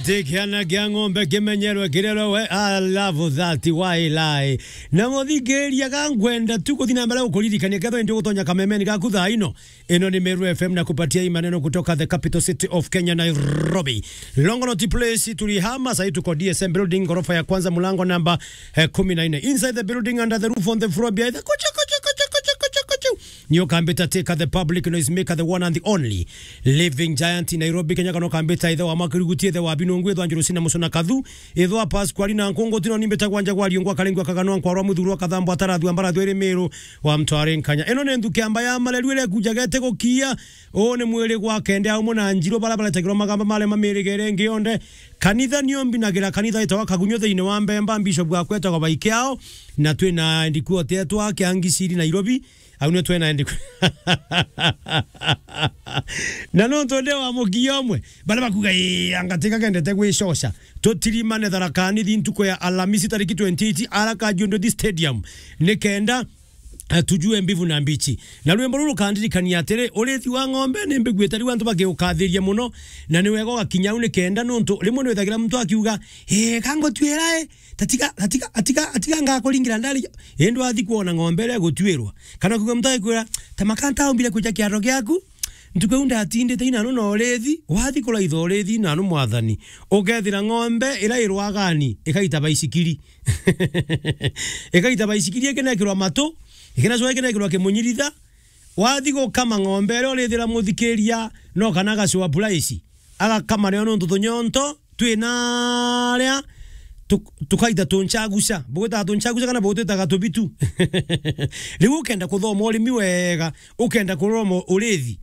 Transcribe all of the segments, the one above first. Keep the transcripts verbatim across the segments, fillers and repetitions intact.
Ti kiana kia ng'ombe kimenyerwe kirerwe we, I love that, why lie? Na muthikiria, ga ngwenda tu kuthi na mbere gukuririkania, kethwa indi gutonya kamemeni gaku thaa ino. Ino ni Meru F M na kupatia hii maneno kutoka the capital city of Kenya, Nairobi. Longonot Place tulihama, sahii tuko D S M building, ghorofa ya kwanza, mlango namba, eh, kumi na nne. Inside the building, under the roof, on the floor, behind the kuchu, kuchu, kuchu. Nio kambita Teka the public noise maker, the one and the only living giant in Nairobi, Kenya, kana kambita ithe wa Makiruguti, ithe wa Binungu, ithe wa Njurusina Musuna Kathu, ithe wa Pasqualina Nkungu, tino nimbita gwanja gwa Riungwa Kalengwa Kaganwa Nkwarwa Muthurwa Kathambwa Tarathua Mbarathua iri Meru wa Mtware Nkanya. Ino ni nthuki amba ya mareru ire kujaga ite gukia. Uu ni mwiri gwa kende au muna njiru bara baretagirwa magamba mare mamirigere ingi yonde. Kanitha nio mbinagira kanitha itawa Kagunyo thiini wa Mbemba, bishop wa kwetagwa Baikiao, na twina ndikuo tetwa Kiangiciri Nairobi. Au nio twena endi ku-, na nontu ndi wa mukia umwe, baria bakuga, "Ii, anga Teka kendete gwicoca." Tutirimane Tharaka Nithi ntuku ya Alamisi tariki twenty-eight, ara Kajundo Stadium, ni kenda, eh, tujue mbivu na mbichi. Na rwimbo ruru rukandirikania atiri, urithi wa ng'ombe ni mbiguite riu antu bakiukathiria muno, na ni wega ugakinya au ni kenda, nontu rimwe ni withagira muntu akiuga, "Ii, ka ngutwira, ii, tatiga, tatiga, atiga, atiga ngakuringira ndari." Indi wathi kwona ng'ombe iria igutwirwa, kana kuuga muntu agikwira, "Ta makanta umbire kwija kiaro giaku, ntuku iu ndatindite inanu na urithi." Wathi kuraitha urithi inanu, mwathani, ukethira ng'ombe iria irwagani ikaita baisikiri. Ikaita baisikiri, ikinekirwa matu, ikinacoka ikinekirwa kimunyiritha. Wathi gukama ng'ombe iria urithira muthikiria, no kana agacua puraisi, agakama nayo nontu tunyonto twina aria tuk-, tukaita tunchaguca. Bugwitaga tunchaguca kana bugwitaga tubitu? Riu ukenda kuthoma urimi wega, ukenda kuroma urithi,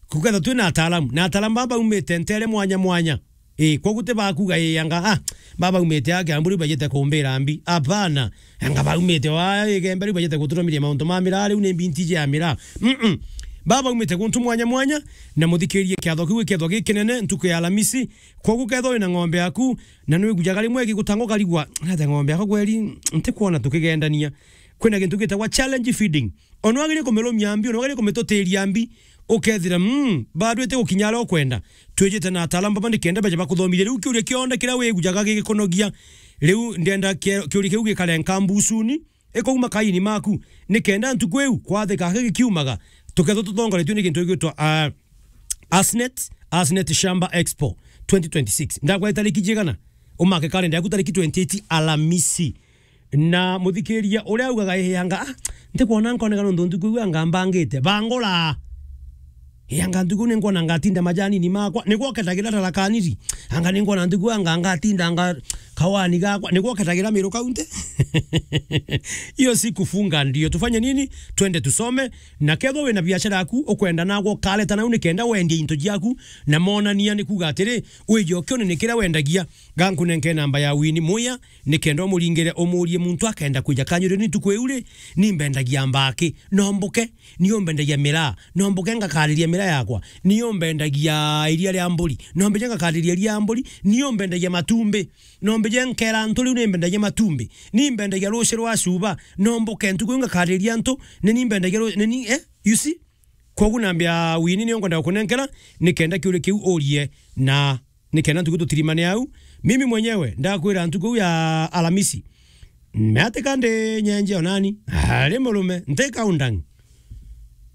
kuketha twina ataalamu. Na ataalamu baba baumite ntere mwanya mwanya. Ii, kwogu ti bakuga, ii, anga, ah, baba baumite aa Kiambu riu bajite kumbira mbi. Apana. Anga baumite wa Igembe riu bajite guturumiria mauntu ma miraa, riu ni mbi ntiji ya miraa. Mm-mm. Baba baumite guntu mwanya mwanya, na muthikirie kiatho kiu gikethwa gikinene ntuku ya Alamisi. Kwogu kethwa wina ng'ombe yaku, na nwigujaga rimwe igigutanga ukarigwa, "Nate ng'ombe yakwa kweri, ntikwona tukigendania." Kwina gintu gitagwa challenge feeding. Ona wagire kumirumia mbi, ona wagire kumitutiria mbi, ukethira, mm, bado ite gukinya aria ukwenda. Twijite na ataalamu baba nikenda beje bakuthomithie. Riu kiuria kionde kiria wigujaga gigikunogia, riu ndenda kie-, kiuria kiu gikare nkambucuni, ikauma kaini maku, nikenda ntuku iu kwathika gikiumaga, tukethwa tutongoretue ni gintu gigwitwa, ah, Asnet, Asnet Shamba Expo twenty twenty-six. Ndakwa tariki jigana? Umake kalenda yaku tariki twenty-eight Alamisi. Na muthikiria uria augaga, "Ii, anga, ah, ntikwona nkoneka nontu ntuku iu anga mbangite." Bangura. "Ii, anga ntuku ni nkwona ngatinda majanini makwa. Ni gwoketagira Tharaka Nithi. Anga ni nkwona ntuku anga ngatinda anga kawani gakwa. Ni gwoketagira Meru County." Hiyo si kufunga ndio. Tufanye nini? Twende tusome. Na kethwa wina biashara yaku, ukwenda nagwa ukareta nau nikenda wendie into jiaku, na monania ni kuuga atiri, wije ukione ni kiria wendagia. Gankunenke namba ya Winnie Muya, nikenda umuringire umurie muntu akenda kwija kanyurio ni ntuku iu ri, ni mbendagia mbaki, no mbuke, ni umbendagia miraa, no mbuke ngakariria miraa yakwa, ni umbendagia iria ria mburi, no mbeje ngakariria iria mburi, ni umbendagia matumbi, no mbeje nkera antu riu ni mbendagia matumbi, ni mbendagia ruci rwa cuba, no mbuke ntuku iu ngakariria antu, ni ni mbendagia ru-, ni ni, eh, you see? Kwogu nambia Winnie nio ngwenda gukunenkera, nikenda kiuria kiu urie, na nikenda ntuku tutirimane au. Mimi mwenyewe ndakwira ntuku iu ya Alamisi, meatika ndi nyenje onani, ari murume, ntika undang.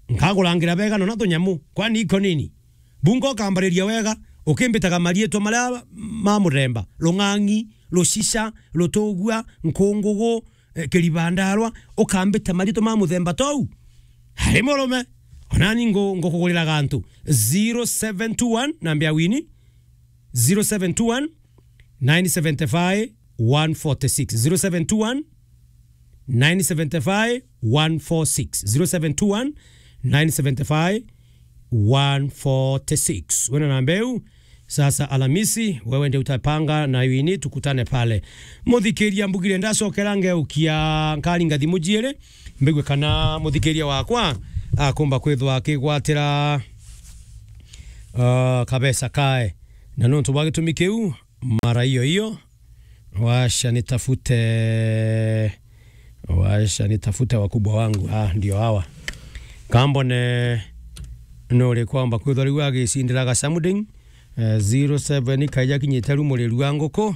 Nkakurangira bega nona tunyamu, kwani iko nini? Bunga ukambariria wega, ukimbitaga mariitwa maria ma muthemba, Rung'ang'i, Rucica, Rutugua, Nkungugu, eh, Kiribandarwa, ukambita mariitwa ma muthemba tou. Ari murume, onani ngu-, ngukugurira gantu. Zero seven two one, nambia Winnie, zero seven two one, nine seven five, one forty-six. Zero seven two one, nine seven five, one forty-six. Zero seven two one, nine seven five, one forty-six. Wena namba iu, sasa Alamisi, wewe ndio utapanga na Winnie, tukutane pale. Muthikiria mbugire ndacokera ngeukia nkaringa thimu jiiri, mbigue kana muthikiria wakwa akumba kwithwa akigwatira, uh, kabesa kae. Na nontu bwa gitumi kiu, mara hiyo hiyo, washa nitafute, washa nitafute wakubwa wangu. Ah, ndio hawa. Kambone nuri kwamba kwithwa riu agicindira ga something, Eh, zero seven, kaija kinyite ru muriru wa nguku.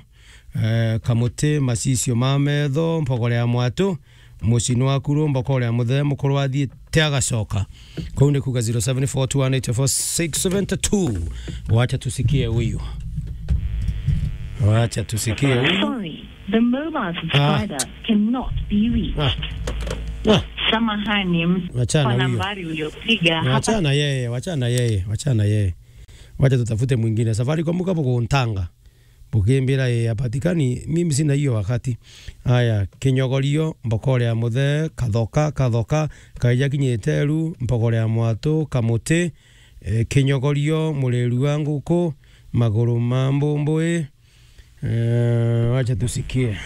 Eh, kamuti, macicio ma metho, mpogore ya mwatu, mucino wa kuru, mbokore ya muthe, mukuru athiite agacoka. Kuu ni kuuga zero seven four two one eight four six seven two. Wacha tusikie huyu. Wacha tusikie huyu. Sorry, the mobile subscriber cannot be reached. Ah. Ah. Samahani, m-, Wachana kwa huyo. Nambari uliopiga hapa. Wachana yeye, wachana yeye, wachana yeye. Wacha tutafute mwingine. Safaricom kabo kuntanga. Bukimbira, "Ii, apatikani, mimi sina hiyo wakati." Aya, kinyogorio, mbokore ya muthe, kathoka, kathoka, kaija kinyite ru, mbokore ya mwatu, kamuti, eh, kinyogorio, muriru wa nguku, maguru ma mbumbui. Eh, wacha tusikie.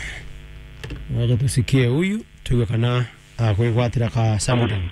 Wacha tusikie huyu, tuigue kana akwigwatira ka something.